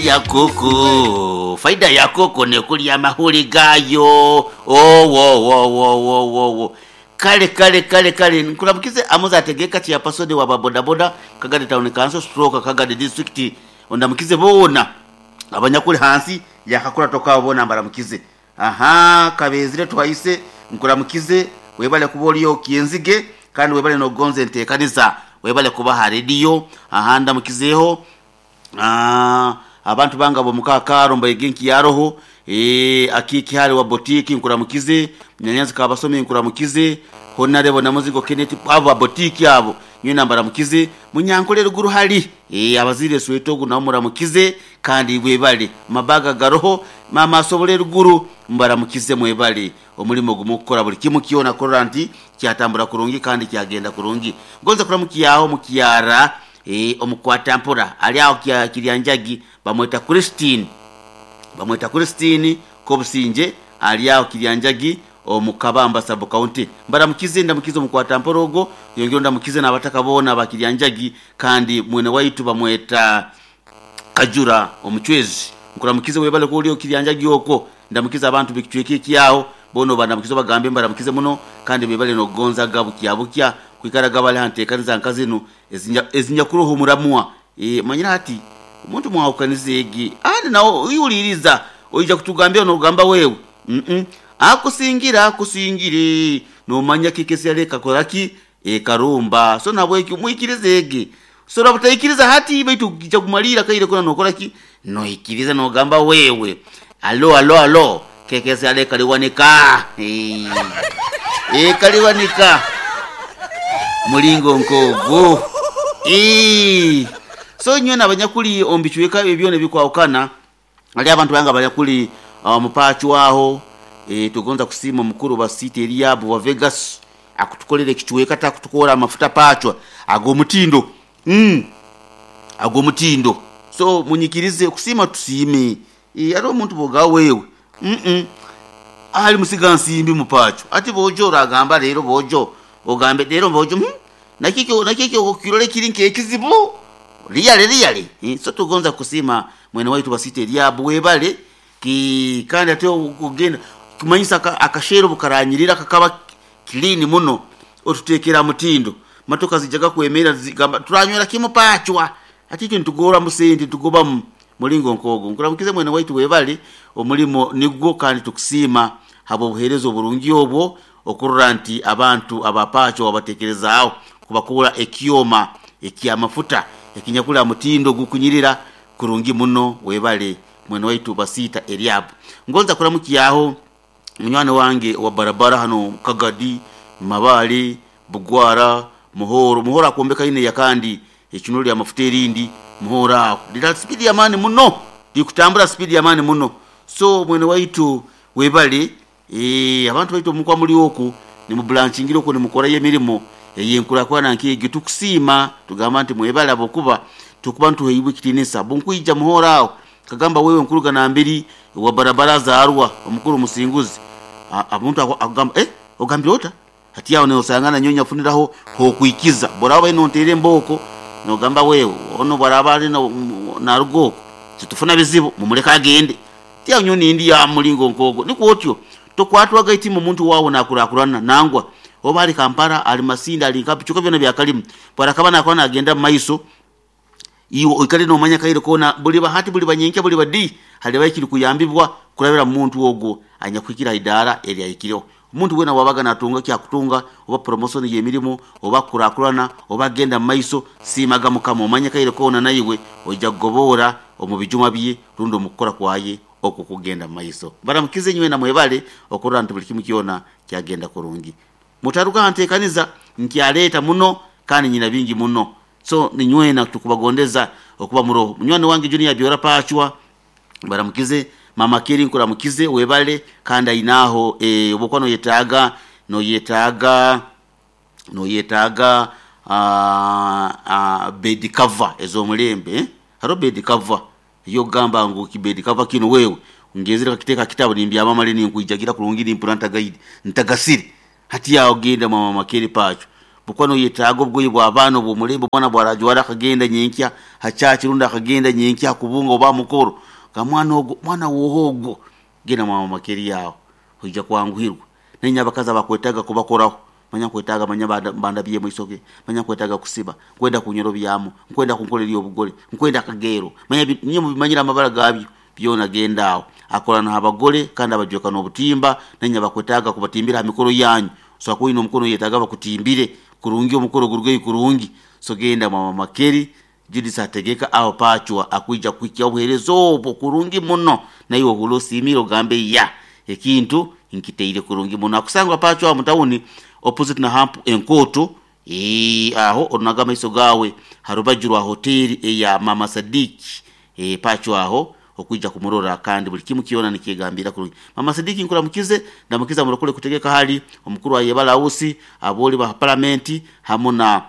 Ya koko, faida ya koko nekulya amahuli gayo. Owowowowowowo. Kale kale kale kale nkulamukize amuze ategeka chairperson wa babodaboda Kagadi Town Council stroke Kagadi District ondamukize boona abanyakuli hansi yakakurato kabo boona mbaramukize. Ahaa Kabezire Twaise nkuramukize webale kuba oli Kyenzige kandi webale nokugonza entekaniza webale kuba ha radio. Ahaa ndamukizeho abantu bange abomuka Mbaige Nkiyaroho, Akiiki Hale wa botiki nkuramukize, Nyanyanzi Kabasomi nkuramukize, Honarebo Namuzigo Kenneth abo ba botiki abo nywena mbaramukize, Munyankole ruguru hali abazire Sweto ogu nabo muramukize kandi webale mabaga garoho mama asobole ruguru mbaramukize mwebale omulimo gumukukora buli kimu kyona kurora nti kyatambura kurungi kandi kyagenda kurungi. Ngonza kuramukiyaho mukyara omukwata mpora ali aho Kiryanjagi bamweta Christine, bamweta Christine Kobusinje ali aho Kiryanjagi omu Kabamba sub county. Mbaramukize ndamukize omukwata mpora ogwo yongera ndamukize n'abataka boona ba Kiryanjagi kandi mwene waitu bamweta Kajura omuchwezi nkuramukize webale kuba oli Kiryanjagi okwo ndamukize abantu b'ekicweka ekyaho boona obaramukize obagambe mbaramukize muno kandi bebale n'okugonzaga bukya bukya kwikaraga bali ha nteekaniza nka zinu ezinyakuroho omuramwa. Manyire hati omuntu mwahukaniza egi andi nawe iwuliriza oija kutugambira n'ogamba wewe akusingira akusingire nomanya kiki esi ekakora ki ekarumba so nahabwekyo mwikirize egi so butaikiriza hati baitu kija kumalira kaire kona nokora ki noikiriza nogamba wewe alo alo alo kekesi ale kaliwanika kaliwanika mulingo nkogo so nywena abanyakuli omu bicweka ebyona ebikwahukana hali abantu bange abanyakuli omupachu aho tugonza kusiima omukuru wa city Eliabu wa Vegas akutukolera ekicweka takutukora amafuta pachwa ag'omutindo ag'omutindo so munyikirize kusiima tusiime hariho omuntu bwoga wewe ali musiga nsimbi mupacho ati bojo oragamba leero bojo ogambe leero bojo nakikyo nakikyo kirole kiri nkekizibu liyale liyale so tugonza kusiima mwene waitu wa city Eliabu webale ki kandi ate okugenda kumanyisa akasheero bukaranyirira kakaba clean muno otutekera mutindo matoka zijaga kwemera zigamba turanywera kimu pachwa ati ekyo nitugora musente tugobamu mulingo nkogo nkuramukize mwene waitu webale omulimo nigwo kandi tukusiima habw'obuheereza oburungi obwo okurora nti abantu abapacho wabatekerezaaho kubakura ekyoma ekyamafuta ekinyakula mutindo gukunyirira kurungi muno webale mwene waitu Basiita Eliabu. Ngonza kuramukiyaho munywani wange wa barabara hano Kagadi, Mabale, Bugwara, Muhoro. Muhoro akombeka ine yakandi ekinulu lya mafuta erindi Muhoro aho lira spidi ya mani muno likutambura spidi ya mani muno so mwene waitu webale abantu baitu omukwa muli oku nimubulanchingira oku nimukorayo emirimo eyenkurakurana nk'egyo tukusiima tugamba nti mwebale ahabwokuba tukuba nituheibwa ekitiinisa bunkwija Muhoro aho kagamba wewe nkuruga nambiri wa barabara zarwa omukuru musinguzi omuntu akugamba ogambire ota hati aho nosangana nyonya afuniraho hokwikiza boraba baine nonteera embooko nogamba wewe ono bwaraba ali naruga okwo titufuna bizibu mumuleke agende ti aho nyowe nindi ya mulingo nkogwo nikwo otyo tokwatwaga itima omuntu waawe nakurakurana nangwa oba ali Kampala ali Masindi ali nka bicuka byona byakalimu bwarakaba nakaba nagenda mumaiso iwe oikale nomanya kaire koona buli bahati buli banyenkya buli badi haliba ekiri kuyambibwa kurabira mu muntu ogwo anyakuhikira idaara eryahikireho omuntu weena wabaga natunga kyakutunga oba promotion y'emirimu oba kurakurana oba agenda mumaiso siimaga mukama omanye kaire koona naiwe oija kugoboora omu bijuma bye rundi omu kukora kwaye okwo kugenda mumaiso. Mbaramukize nywena mwebale okurora nti buli kimu kyona kyagenda kurungi. Mutaruga ha nteekaniza nkyaleeta muno kandi nyina bingi muno so ninywena tukubagondeza okuba muroho. Munywani wange Junior Byora Pachwa mbaramukize, mama Keri nkuramukize webale kandi ainaho obu noyetaaga noyetaaga noyetaaga bed cover ez'omulembe hariho bed cover ey'okugamba ngu bed cover kinu wewe ngenzere nkakiteeka aha kitabu nimbyama mare ninkwijagira kurungi nimpurra ntagaire ntagasire hati aho genda mwa mama Keri Pachwa. Bwokuba noyetaaga obugoye bw'abaana obw'omulembe, omwana bwarajwara akagenda nyenkya ha church rundi akagenda nyenkya ha kubunga oba ha mukoro, ga mwana ogwo, mwana woha ogwo? Genda mwa Mama Keri aho, oija kwanguhirwa. Nainywe abakazi abakwetaaga kubakoraho, manya nkwetaaga manya bandabyemu isoke, manya nkwetaaga kusiba, nkwenda kunyorobyamu, nkwenda kunkora ery'obugole, nkwenda akageero, manya inywe mubimanyire amabara gabyo, byona genda aho. Akora n'abagole kandi abajweka n'obutimba, nainywe abakwetaaga kubatimbira ha mikoro yanyu, osobora kuba oine omukoro noyetaaga bakutimbire kurungi omukoro gurugeyo kurungi, so genda mwa Mama Keri, Judith Ategeka aho Pachwa akwija kuhikya obuheereza obwo kurungi muno, naiwe ohuurre osiimire ogambe ya ekintu nkitaire kurungi muno. Akusangwa Pachwa aho mu tawuni opposite na Hamp Enkooto, eeh aho orunaga amaiso gaawe ha rubaju rwa hoteeri eya Mama Sadiki, eeh Pachwa aho okwija kumurora kandi buli kimu kyona nikyegambira kurungi. Mama Sadiki nkuramukize, ndamukiza murokole kutegeka hali omukuru wa Yebale House, abooli ba palamenti hamu na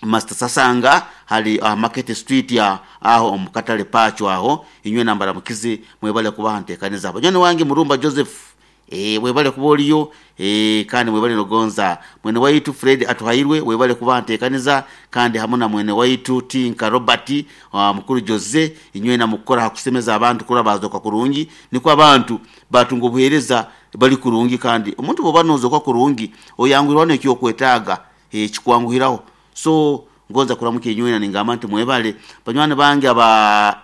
Master Sasanga hali aha Market Street aho omu katale Pachwa aho, inywena mbaramukize mwebale kubaha ntekaniza. Banywani wange Murumba Joseph, eeh webale kuba oriyo, eeh kandi mwebale nogonza. Mwene waitu Fred Atuhairwe webale kubaha ntekaniza kandi hamu na mwene waitu Tinka Robert, mukuru Jose, inywena mukukora ha kusemeza abantu kurora bazoka kurungi, nikwo abantu batunga obuhereza bali kurungi kandi omuntu bwoba nozoka kurungi oyanguhirwaho nekyokwetaaga, eeh kikwanguhiraho. So ngonza kuramukya inywena ningamba nti mwebale banywani bange aba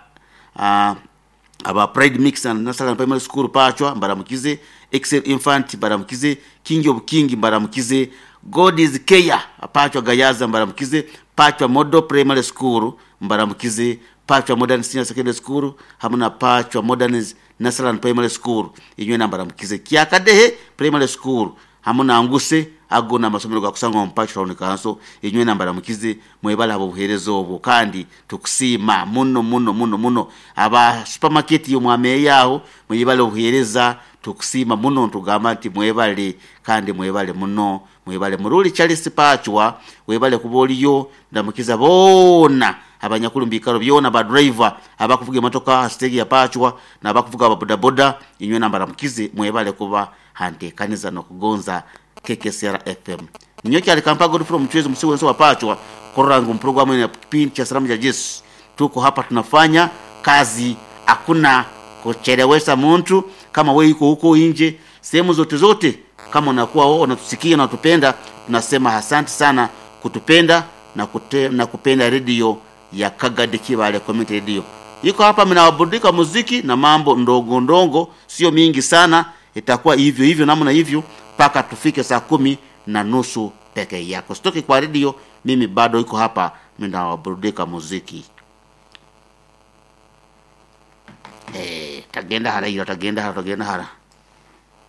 aba Pride Mix and Nasalan Primary School Pachwa mbaramukize, Excel Infant mbaramukize, King of King mbaramukize, God is Care Pachwa Gayaza mbaramukize, Pachwa Model Primary School mbaramukize, Pachwa Modern Senior Secondary School hamu na Pachwa Modern Nasalan Primary School inywena mbaramukize, Kyakadehe Primary School hamu na Nguse, ago n'amasomero gakusangwa omu Pachwa Town Council, inywena mbaramukize, mwebale habw'obuheereza obwo kandi tukusiima muno muno muno muno. Aba supermarket y'omwameeya aho mwebale obuheereza, tukusiima muno nitugamba nti mwebale kandi mwebale muno, mwebale. Muruli Charles Pachwa webale kuba oriyo, ndamukiza boona abanyakuli omu biikaro byona, ba driver abakuvuga emotoka ha siteegi ya Pachwa n'abakuvuga aba bodaboda, inywena mbaramukize mwebale kuba ha nteekaniza n'okugonza KKCR FM. Ninyowe Kyali Kampa Godfrey Omuchwezi Omusi w'ensi wa Pachwa kurora ngu puroguramu enu ya kipindi cha Salamu ja Jesu tuko hapa tunafanya kazi, hakuna kuchelewesha muntu. Kama wewe iko huko nje sehemu zote zote, kama unakuwa wewe unatusikia na unatupenda, tunasema asante sana kutupenda na, na kupenda redio ya Kagadi Kibale Community Radio. Iko hapa mnawaburudika muziki na mambo ndogo ndogo, sio mingi sana, itakuwa hivyo hivyo namna hivyo mpaka tufike saa 10:30 peke yako. Sitoki kwa redio, mimi bado iko hapa mnawaburudika muziki. Tagenda hara ira, tagenda hara, tagenda hara.